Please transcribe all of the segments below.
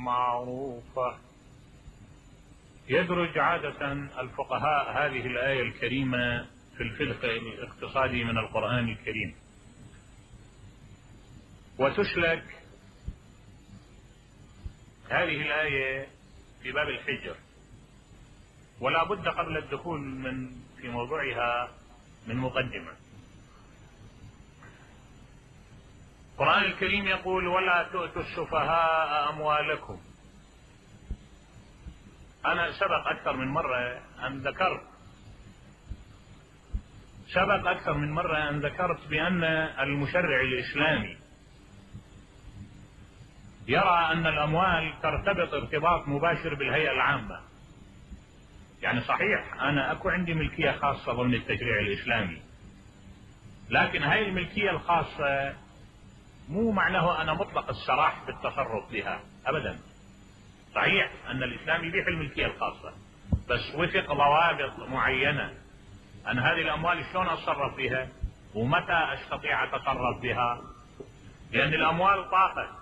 معروفة. يدرج عادة الفقهاء هذه الآية الكريمة في الفقه الاقتصادي من القرآن الكريم، وتسلك هذه الآية في باب الحجر، ولا بد قبل الدخول في موضوعها من مقدمة. القرآن الكريم يقول: ولا تؤتوا السفهاء أموالكم. أنا سبق أكثر من مرة أن ذكرت بأن المشرع الإسلامي يرى أن الأموال ترتبط ارتباط مباشر بالهيئة العامة. يعني صحيح أنا أكو عندي ملكية خاصة ضمن التشريع الإسلامي، لكن هاي الملكية الخاصة مو معناه أنا مطلق السراح بالتصرف بها أبدا. صحيح أن الإسلام يبيح الملكية الخاصة، بس وفق ضوابط معينة أن هذه الأموال شلون أتصرف بها ومتى أستطيع أتصرف بها، لأن الأموال طاقة،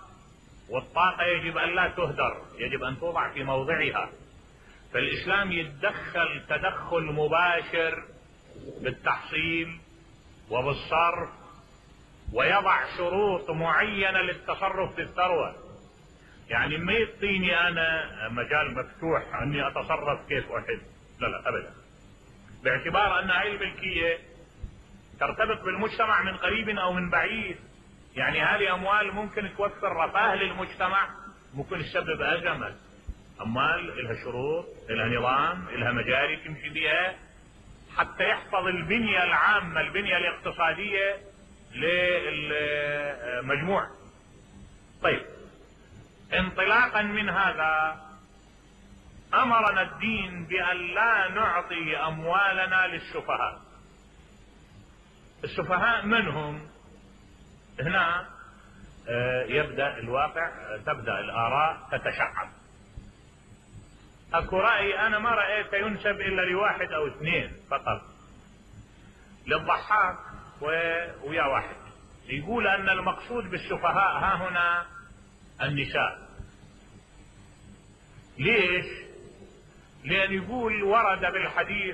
والطاقة يجب أن لا تهدر، يجب أن توضع في موضعها. فالإسلام يتدخل تدخل مباشر بالتحصيل وبالصرف، ويضع شروط معينة للتصرف بالثروة. يعني ما يعطيني أنا مجال مفتوح أني أتصرف كيف أحب، لا أبدا، باعتبار أن هذه الملكية ترتبط بالمجتمع من قريب أو من بعيد. يعني هذه أموال ممكن توفر رفاه للمجتمع، ممكن تسبب أزمة. أموال لها شروط، لها نظام، لها مجاري تمشي بها حتى يحفظ البنية العامة، البنية الاقتصادية للمجموع. طيب، انطلاقا من هذا أمرنا الدين بأن لا نعطي أموالنا للسفهاء. السفهاء من هم؟ هنا يبدأ الواقع، تبدأ الآراء تتشعب. اكو رأي انا ما رأيت ينسب الا لواحد او اثنين فقط، للضحاك ويا واحد، يقول ان المقصود بالسفهاء ها هنا النساء. ليش؟ لان يقول ورد بالحديث